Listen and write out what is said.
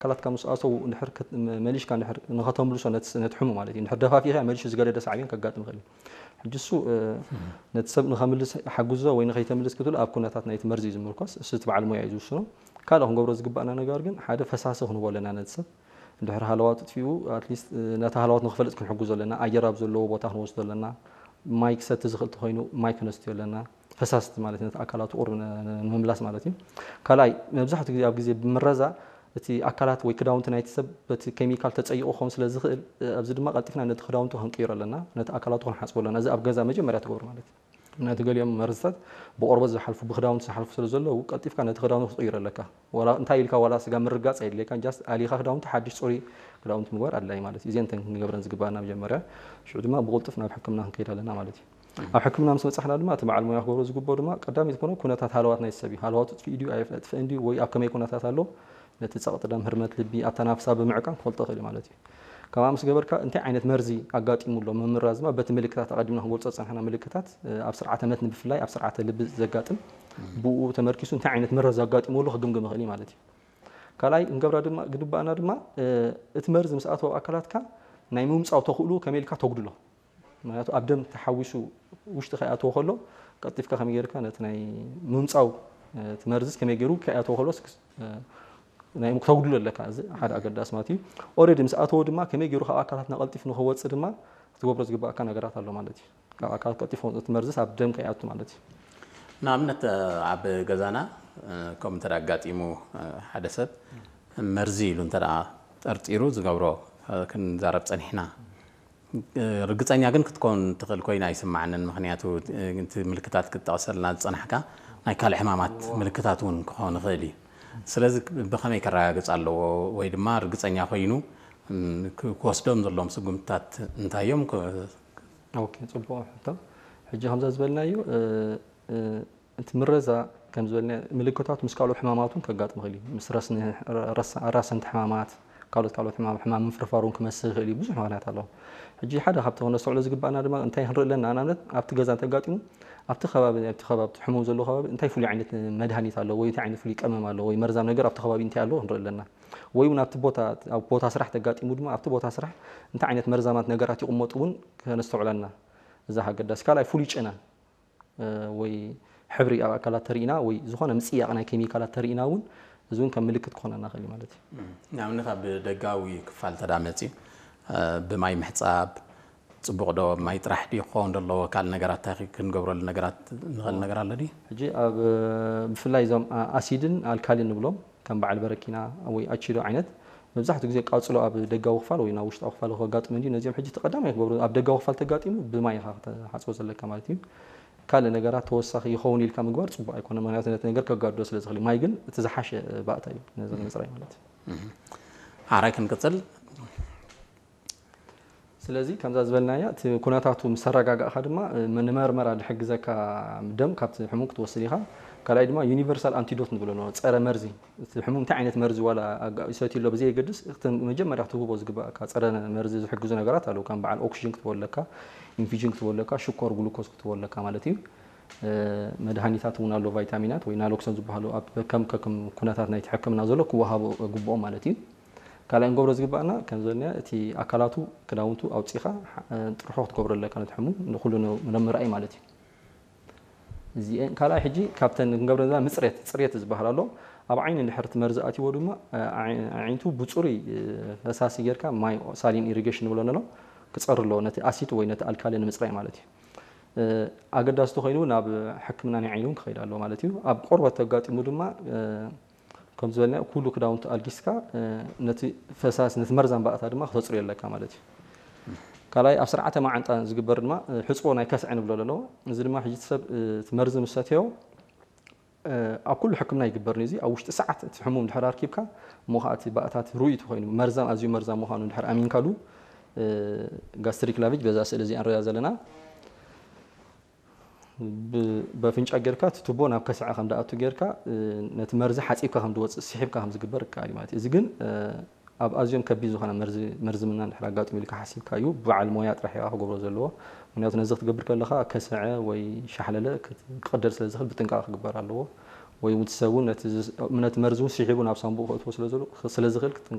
ኣካላትካ ምስ ኣተዉ እንድሕር ከት- መ- መሊሽካ እንድሕር ንኸተምልሶ ነቲ ስ- ነቲ ሕሙ ማለት እዩ። እንድሕር ደፋፊኻ መሊሹ ዝገደደ ሳዕቤን ከጋጥም ይኽእል እዩ። ሕጂ እሱ እ፣ ነቲ ሰብ ንኸምልስ ሓግዞ ወይ ንኸይተምልስ ክትብል ኣብ ኩነታት ናይቲ መርዚ እዩ ዝምርኮስ። እሱ እቲ በዓል ሞያ እዩ ዝውስኖ። ካልእ ክንገብሮ ዝግባእና ነገር ግን ሓደ ፈሳሲ ክንህቦ ኣለና ነቲ ሰብ። እንድሕር ሃለዋቱ ጥፊኡ ኣትሊስት ነቲ ሃለዋት ንኽፈልጥ ክንሕግዞ ኣለና። ኣየር ኣብ ዘለዎ ቦታ ክንወስዶ ኣለና። ማይ ክሰቲ ዝኽእል ተኾይኑ ማይ ክነስትዮ ኣለና። ፈሳስቲ ማለት ነቲ ኣካላቱ ቁሩብ ን- ን- ንምምላስ ማለት እዩ። ካልኣይ መብዛሕትኡ ግዜ ኣብ ግዜ ብምረዛ እቲ ኣካላት ወይ ክዳውንቲ ናይቲ ሰብ በቲ ኬሚካል ተጸይቑ ክኸውን ስለ ዝኽእል ኣብዚ ድማ ቀልጢፍና ነቲ ክዳውንቱ ክንቅይሮ ኣለና። ነቲ ኣካላቱ ክንሓጽቦ ኣለና። እዚ ኣብ ገዛ መጀመርያ ትገብሩ ማለት እዩ። ምክንያቱ ገሊኦም መርዝታት ብቆርበት ዝሓልፉ ብክዳውንቲ ዝሓልፉ ስለ ዘለዉ ቀልጢፍካ ነቲ ክዳውንቲ ክትቕይሮ ኣለካ። ዋላ እንታይ ኢልካ ዋላ ስጋ ምርጋጽ ኣይድልየካን። ጃስት ኣሊኻ ክዳውንቲ ሓድሽ ጽሩይ ክዳውንቲ ምግባር ኣድላይ ማለት እዩ። እዚአን እተን ክንገብረን ዝግባኣና መጀመርያ። ሽዑ ድማ ብቕልጡፍ ናብ ሕክምና ክንከይድ ኣለና ማለት እዩ። ኣብ ሕክምና ምስ በጻሕና ድማ እቲ በዓል ሞያ ክገብሮ ዝግብኦ ድማ ቀዳሚት ኮነ ኩነታት ሃለዋት ናይ ሰብ እዩ። ሃለዋቱ ጥፊኡ ድዩ ኣየጥፍእን ድዩ ወይ ኣብ ከመይ ኩነታት ኣሎ ነቲ ጸቕጢ ደም ህርመት ልቢ ኣተናፍሳ ብምዕቃን ክፈልጦ ይኽእል እዩ ማለት እዩ። ከምኣ ምስ ገበርካ እንታይ ዓይነት መርዚ ኣጋጢሙ ኣሎ ምምራዝ ድማ በቲ ምልክታት ኣቐዲምና ክንገልጾ ዝጸናሕና ምልክታት ኣብ ስርዓተ መትኒ ብፍላይ ኣብ ስርዓተ ልቢ ዘጋጥም ብኡ ተመርኪሱ እንታይ ዓይነት መርዚ ኣጋጢሙ ኣሎ ክግምግም ይኽእል እዩ ማለት እዩ። ካልኣይ ክንገብራ ድማ ግድባእና ድማ እቲ መርዚ ምስ ኣተወ ኣብ ኣካላትካ ናይ ምምጻው ተኽእሎ ከመይ ኢልካ ተጉድሎ። ምክንያቱ ኣብ ደም ተሓዊሱ ውሽጢ ከይኣተወ ከሎ ቀልጢፍካ ከመይ ጌርካ ነቲ ናይ ምምጻው እቲ መርዝስ ከመይ ገይሩ ከይኣተወ ከሎ ናይ ተጉድሎ ኣለካ። እዚ ሓደ ኣገዳሲ ማለት እዩ። ኦረዲ ምስ ኣተወ ድማ ከመይ ገይሩ ካብ ኣካላትና ቀልጢፍ ንክወፅእ ድማ ክትገብሮ ዝግባእካ ነገራት ኣሎ ማለት እዩ። ካብ ኣካላት ቀልጢፍ እቲ መርዝስ ኣብ ደም ከይኣቱ ማለት እዩ። ንኣብነት ኣብ ገዛና ከምኡ እንተ ኣጋጢሙ ሓደ ሰብ መርዚ ኢሉ እንተ ጠርጢሩ ዝገብሮ ክንዛረብ ጸኒሕና ርግጸኛ ግን ክትኮን ትኽእል ኮይና ኣይስማዓንን። ምኽንያቱ እቲ ምልክታት ክትጠቕሰልና ዝጸናሕካ ናይ ካልእ ሕማማት ምልክታት እውን ክኾን ይኽእል እዩ። ስለዚ ብኸመይ ከረጋግጽ ኣለዎ ወይ ድማ ርግጸኛ ኮይኑ ክወስዶም ዘለዎም ስጉምትታት እንታይ እዮም? ኦኬ፣ ጽቡቕ ሕቶ። ሕጂ ከምዛ ዝበልናዮ እቲ ምረዛ ከም ዝበልና ምልክታቱ ምስ ካልኦት ሕማማት እውን ከጋጥም ይኽእል እዩ። ምስ ረስኒ ረሰንቲ ሕማማት ካልኦት ካልኦት ሕማም ሕማም ምፍርፋር እውን ክመስል ይኽእል እዩ። ብዙሕ ምኽንያት ኣለዎ። ሕጂ ሓደ ካብቲ ክነስተውዕሎ ዝግባኣና ድማ እንታይ ክንርኢ ኣለና? ንኣብነት ኣብቲ ገዛ እንተጋጢሙ ኣብቲ ከባቢ ኣብቲ ከባቢ ሕሙም ዘለዎ ከባቢ እንታይ ፍሉይ ዓይነት መድሃኒት ኣሎ ወይ እንታይ ዓይነት ፍሉይ ቀመም ኣሎ ወይ መርዛም ነገር ኣብቲ ከባቢ እንታይ ኣሎ ክንርኢ ኣለና። ወይ እውን ኣብቲ ቦታ ኣብ ቦታ ስራሕ ተጋጢሙ ድማ ኣብቲ ቦታ ስራሕ እንታይ ዓይነት መርዛማት ነገራት ይቕመጡ እውን ከነስተውዕል ኣለና። እዚ ኣገዳሲ ካልኣይ ፍሉይ ጨና ወይ ሕብሪ ኣብ ኣካላት ተርኢና ወይ ዝኾነ ምጽያቕ ናይ ኬሚካላት ተርኢና እውን እዚ እውን ከም ምልክት ክኾነና ይኽእል እዩ ማለት እዩ። ንኣብነት ኣብ ደጋዊ ክፋል ተዳ መጺኡ ብማይ ምሕጻብ ጽቡቕ ዶ? ማይ ጥራሕ ድዩ ክኸውን ዘለዎ? ካልእ ነገራት እንታይ ክንገብረሉ ነገራት ንኽእል ነገር ኣሎ ድዩ? ሕጂ ኣብ ብፍላይ እዞም ኣሲድን ኣልካሊን ንብሎም ከም በዓል በረኪና ወይ ኣቺዶ ዓይነት መብዛሕትኡ ግዜ ቃጽሎ ኣብ ደጋዊ ክፋል ወይ ናብ ውሽጣዊ ክፋል ከጋጥም እንድዩ። ነዚኦም ሕጂ እቲ ቀዳማይ ክገብሩ ኣብ ደጋዊ ክፋል ተጋጢሙ ብማይ ኢኻ ክትሓጽቦ ዘለካ ማለት እዩ። ካልእ ነገራት ተወሳኺ ይኸውን ኢልካ ምግባር ጽቡቕ ኣይኮነን። ምክንያቱ ነቲ ነገር ከጋድዶ ስለ ዝኽእል እዩ። ማይ ግን እቲ ዝሓሸ ባእታ እዩ ነዚ ንምጽራይ ማለት እዩ። ሓራይ ክንቅጽል ስለዚ ከምዛ ዝበልናያ እቲ ኩነታቱ ምስ ተረጋጋእካ ድማ ንመርመራ ዝሕግዘካ ደም ካብቲ ሕሙም ክትወስድ ኢኻ። ካልኣይ ድማ ዩኒቨርሳል ኣንቲዶት ንብሎ ኣሎ ጸረ መርዚ እቲ ሕሙም እንታይ ዓይነት መርዚ ዋላ ይሰትዩ ኣሎ ብዘየገድስ እቲ መጀመርያ ክትህቦ ዝግባእካ ጸረ መርዚ ዝሕግዙ ነገራት ኣለዉ። ከም በዓል ኦክሲጅን ክትህቦ ኣለካ፣ ኢንፊዥን ክትህቦ ኣለካ፣ ሽኮር ግሉኮስ ክትህቦ ኣለካ ማለት እዩ። መድሃኒታት እውን ኣሎ ቫይታሚናት ወይ ናሎክሶን ዝበሃሉ ኣብ ከም ከክም ኩነታት ናይቲ ሕክምና ዘሎ ክወሃቦ ግብኦም ማለት እዩ። ካልኣይ ንገብሮ ዝግባእና ከም ዝበልና እቲ ኣካላቱ ክዳውንቱ ኣውፂኻ ጥርሑ ክትገብሮ ኣለካ ነቲ ሕሙም ንኩሉ ንምርኣይ ማለት እዩ። እዚአን ካልኣይ ሕጂ ካብተን ክንገብረ ዘለና ምፅሬት ፅሬት ዝበሃል ኣሎ። ኣብ ዓይኒ እንድሕር እቲ መርዚ ኣትይዎ ድማ ኣዒንቱ ብፅሩይ ፈሳሲ ጌርካ ማይ ሳሊን ኢሪጌሽን ንብሎ ኣለና ክፀሪ ኣለዎ ነቲ ኣሲድ ወይ ነቲ ኣልካሊ ንምፅራይ ማለት እዩ። ኣገዳሲ ተኾይኑ ናብ ሕክምና ናይ ዓይኒ እውን ክኸይድ ኣለዎ ማለት እዩ። ኣብ ቆርበት ተጋጢሙ ድማ ከም ዝበልና ኩሉ ክዳውንቲ ኣልጊስካ ነቲ ፈሳሲ ነቲ መርዛም ባእታ ድማ ክተፅርዮ ኣለካ ማለት እዩ። ካልኣይ ኣብ ስርዓተ ማዓንጣ ዝግበር ድማ ሕፅቦ ናይ ከስዐ ንብሎ ኣለዎ። እዚ ድማ ሕጂ ሰብ እቲ መርዚ ምስ ሰትዮ ኣብ ኩሉ ሕክምና ይግበር እዚ ኣብ ውሽጢ ሰዓት እቲ ሕሙም ድሕር ኣርኪብካ እሞ ከዓ እቲ ባእታት ርኡይ ተኮይኑ መርዛም ኣዝዩ መርዛም ምኳኑ ድሕር ኣሚንካሉ ጋስትሪክ ላቪጅ በዛ ስእሊ እዚኣ ንሪኣ ዘለና በፍንጫ ጌርካ እቲ ቱቦ ናብ ከስዐ ከም ድኣቱ ጌርካ ነቲ መርዚ ሓፂብካ ከም ድወፅእ ስሒብካ ከም ዝግበር ይከኣል እዩ ማለት እዩ። እዚ ግን ኣብ ኣዝዮም ከቢድ ዝኾነ መርዚ መርዝምና እንድሕር ኣጋጢሙ ኢልካ ሓሲብካ እዩ በዓል ሞያ ጥራሕ ኢኻ ክገብሮ ዘለዎ። ምክንያቱ ነዚ ክትገብር ከለኻ ከስዐ ወይ ሻሕለለ ክቕደድ ስለ ዝኽእል ብጥንቃቐ ክግበር ኣለዎ። ወይ እቲ ሰብ እውን ነቲ መርዚ እውን ስሒቡ ናብ ሳንቡእ ከእትዎ ስለ ዝኽእል ክትጥንቀቕ